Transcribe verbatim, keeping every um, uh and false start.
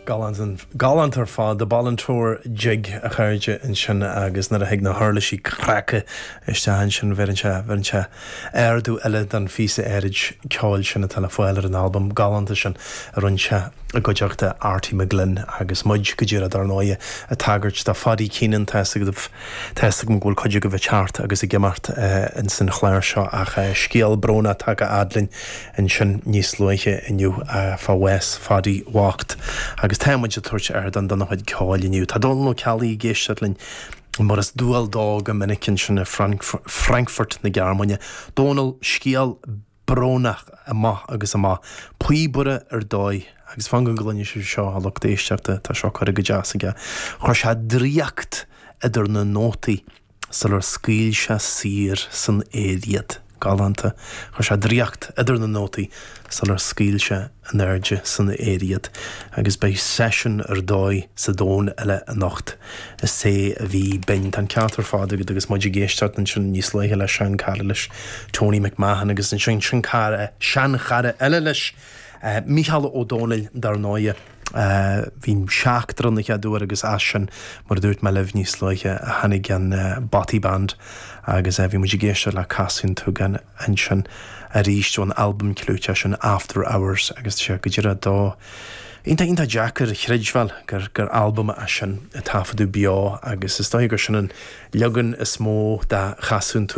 Galánta ar fad The Balintore Jig a chairde ansin agus nuair a thig na huirlisí craice isteach ansin bheireann sé bheireann sé ardú eile don phíosa áirid ceoil sin atá le fáil ar an albam galánta sin a rinne sé i gcuideachta Arty McGlynn agus muid go díreach dar ndóigh ag tagairt do Pháidí Keenan tá go bhfuil cuid agaibh ag teacht agus ag imeacht in san chlár seo ach scéal brónach tagtha fhad linn ansin níos luaithe inniu fá bhás Pháidí bhocht. agus táimid ag tabhairt ardán dona chuid ceoil inniu. Tá Dónal Ó Ceallaigh ag éisteacht linn mar is dual dó go minic ansin i Frankfurt na Gearmáine. Dónal scéal brónach amach agus amach, píobaire ar dóigh agus fan go gcluine sibh seo a lucht éisteachta tá seo curtha go deas aige. Chuir sé draíocht idir na nótaí sular scaoil sé saor san aer iad. Galánta chuir sé draíocht idir na nótaí sular scaoil sé in airde san aer iad, agus beidh seisiún ar dóigh sa domhan eile anocht is é a bhí binn tá ceart ar fad agat agus muid ag éisteacht ansin níos luaithe le seanchara leis Tony McMahon agus ansin sin cara seanchara eile leis uh, Mícheál Ó Dónaill dar ndóigh. Uh, Bhí seachtar na cheadúir agus as sin mar dúirt mé libh níos luaithe a tháinig an uh, Bothy Band agus uh, bhí muid ag éisteacht le Casadh an tSúgáin ansin arís ón albam clúiteach sin After Hours agus sé go dtí dó. Iontach iontach deacair a chreidbheáil gur gur albam é sin a taifeadadh beo agus is dóigh gur sin an leagan is mó de Chasadh an